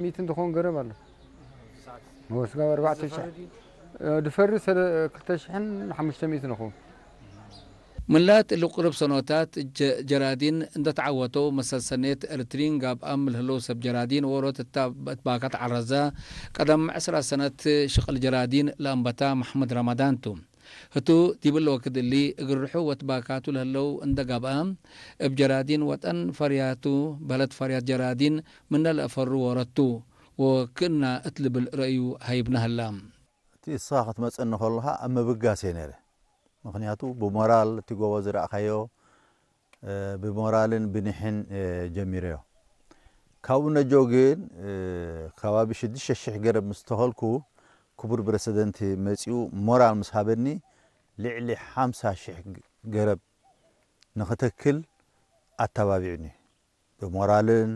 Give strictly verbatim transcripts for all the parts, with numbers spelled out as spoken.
ሚእትን ትኾን ገረብ አለ። ወስጋ አርባዕተ ሺሕ፣ ድፈሪ ሰለ ክልተ ሺሕን ሐሙሽተ ሚእትን ንኹን። ምን ላት እሊ ቅሩብ ሰኖታት፣ ጀ-፣ ጀራዲን እንደ ተዓወተው መሰል ሰኔት ኤርትሪን ጋብኣም ለህለው ሰብ ጀራዲን ዎሮት እታ እት ባካት ዐረዘ፣ ቀደም ዕስራ ሰነት ሽቅል ጀራዲን ለአንበታ መሕመድ ረመዳን ቱ። ህቱ ዲብ እሊ ወክድ እሊ፣ እግል ርሑ ወትባካቱ ለህለው እንደ ጋብአ፣ እብ ጀራዲን ወጠን ፈርያቱ፣ በህለት ፈርያት ጀራዲን ምነ ለአፈሩ ዎሮት ቱ፣ ወክእና እት ልብል ረእዩ ሀይብነ ህላ። እቲ እስኻ ክትመጽእኒ ከለኻ ኣብ ምብጋስ እየ ነይረ። ምኽንያቱ ብሞራል እቲ ጎቦ ዝረእኻዮ፣ እ፣ ብሞራልን ብኒሕን፣ እ፣ ጀሚረዮ። ካብኡ ነጆ ግን፣ እ፣ ከባቢ ሽዱሽተ ሺሕ ገረብ ምስ ተኸልኩ፣ ክቡር ፕረሲደንት መጺኡ ሞራል ምስ ሃበኒ፣ ልዕሊ ሓምሳ ሺሕ ገረብ ንኽተክል ኣተባቢዑኒ። ብሞራልን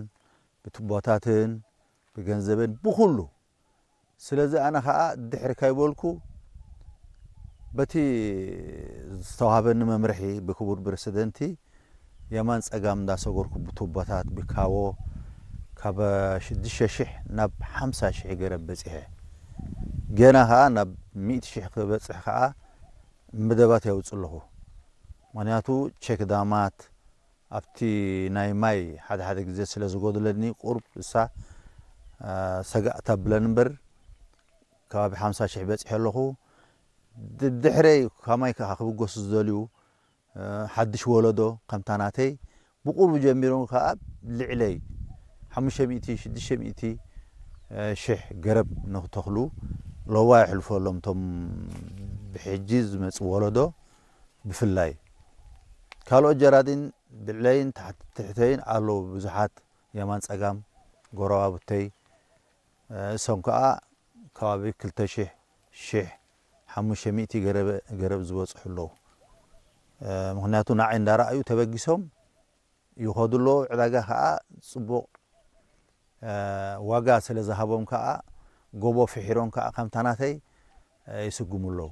ብቱቦታትን ብገንዘብን ብኩሉ። ስለዚ ኣነ ኸኣ ድሕሪ ካይበልኩ በቲ ዝተዋህበኒ መምርሒ ብክቡር ፕረሲደንቲ የማን ጸጋም እንዳሰገርኩ ብቱቦታት ብካቦ ካብ ሽዱሽተ ሺሕ ናብ ሓምሳ ሺሕ ገረብ በጺሐ። ገና ኸኣ ናብ ሚእቲ ሺሕ ክበጽሕ ኸኣ መደባት የውጽእ ኣለኹ። ምኽንያቱ ቼክ ዳማት ኣብቲ ናይ ማይ ሓደ ሓደ ግዜ ስለ ዝጎድለኒ ቁሩብ እሳ፣ አ፣ ሰጋእ ተብለን እምበር ከባቢ ሓምሳ ሺሕ በጺሐ ኣለኹ። ድ-፣ ድሕረይ ከማይ ከኣ ክብገሱ ዝደልዩ፣ አ፣ ሓድሽ ወለዶ ከምታ ናተይ ብቁሩብ ጀሚሮም ከኣ ልዕለይ ሓሙሽተ ሚእቲ ሽዱሽተ ሚእቲ ሺሕ ገረብ ንክተኽሉ ለዋህ የሕልፎ ኣሎም፣ እቶም ብሕጂ ዝመጽእ ወለዶ ብፍላይ። ካልኦት ጀራዲን ብልዕለይን ታሕት-፣ ትሕተይን ኣለዉ ብዙሓት፣ የማን ጸጋም፣ ጎረባብተይ፣ እሶም ከኣ ከባቢ ክልተ ሺሕ፣ ሺሕ ሓሙሽተ ሚእቲ ገረበ-፣ ገረብ ዝበጽሑ ኣለዉ። ምኽንያቱ ንዓይ እንዳረኣዩ ተበጊሶም ይኸዱ ኣለዉ። ዕዳጋ ከኣ ጽቡቕ ዋጋ ስለ ዝሃቦም ከኣ፣ ጎቦ ፍሒሮም ከኣ ከምታ ናተይ ይስጉሙ ኣለዉ።